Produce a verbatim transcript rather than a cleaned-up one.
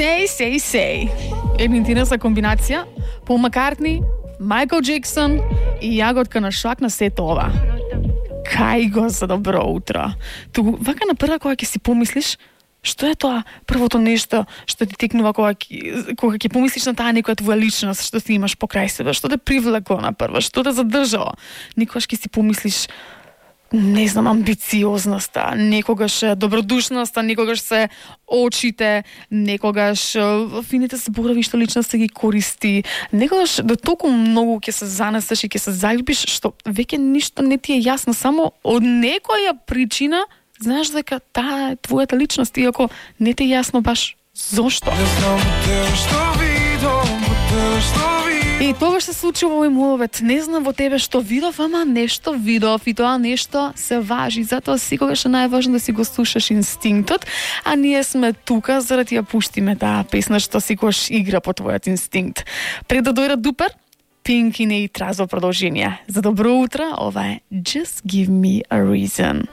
Say, say, say. Една интересна комбинација. Пол Маккартни, Майкл Джексон и јаготка на шак на сето ова. Кај го за добро утро. Туку, вака на прва кога ќе си помислиш, што е тоа првото нешто што ти текнува кога ќе кога ќе помислиш на таа некоја твоја личност што ти имаш покрај себе, што те привлекло на прва, што те задржало. Никогаш ќе си помислиш, не знам, амбициозноста, некогаш добродушноста, некогаш се очите, некогаш фините зборови што личноста ги користи, некогаш да толку многу ќе се занесеш и ќе се заљубиш што веќе ништо не ти е јасно, само од некоја причина знаеш дека таа е твојата личност, иако не ти е јасно баш зошто. И тоа се случи во мој мовет. Не знам во тебе што видов, ама нешто видов и тоа нешто се важи. Затоа секогаш е најважно да си го слушаш инстинктот, а ние сме тука за да ти ја пуштиме таа песна што секогаш игра по твојот инстинкт. Пред да дојде Дупер, Пинк и Нејтраз во продолжение. За добро утро, ова е Just Give Me a Reason.